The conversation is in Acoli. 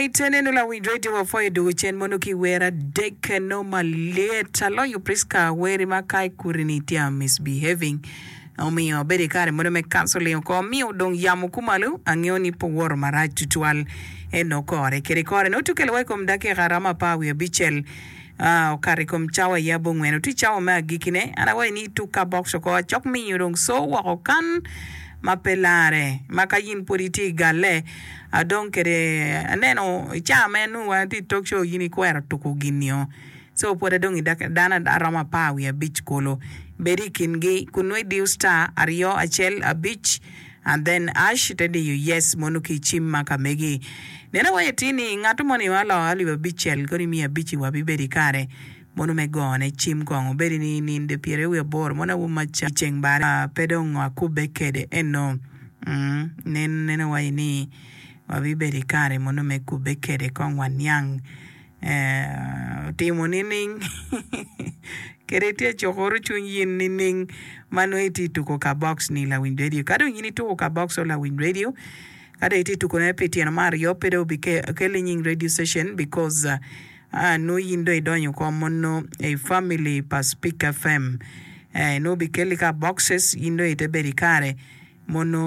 Alright, neno lawiny radio wapwoyo dwogo cen mono ki wer adek no malyet. Aloyo Prisca weri ma ka ikuri ni itye a misbehaving. Omiyo abedo i kare mono me counseling oko miyo dong yamo kumalo angeyo ni pe owoto marac tutwal eno kore kede kore nongo tukelo wa i kom dakika romo apar wiye abicel okato i kom cawa i abongwen otye cawa me agikine an awaco ni tuk ka box oko acok miyo dong so woko kan ma pe lare ma ka in pwod itye i galle adong kede aneno i cawa ma en nongo wa tye i talk show in ikwero tuko gin-nio So pwod adong i dano aromo apar wiye abic kulu. Bed i kingi kun nongo idiyo star aryo acel abic and then ash ite diyo yes mono ki cim ma ka megi. Nen awaco atir ni ngat moni ma oloo alip abicel kodi miya abic i wa bibedo i kare mono me gone cim kong obedi ni ninde pyeraryo wiye aboro mono awobi ma ceng bare pe dong akubbe kede eno nen nen awaco ni wabibedo i kare mono me kubbe kede kong waniang Otimo nining? Kede itye cukuru cwiny in nining ma nongo itye tuko ka box ni lawiny radio? Ka dong in ituko ka box o lawiny radio, ka dong itye tukone pi tyeno me aryo pe dong obikelli nying radio station because nongo in dong idonyo oko mono i family pa Speak FM. Nongo obikelli ka boxes in dong ite bedo ikare mono.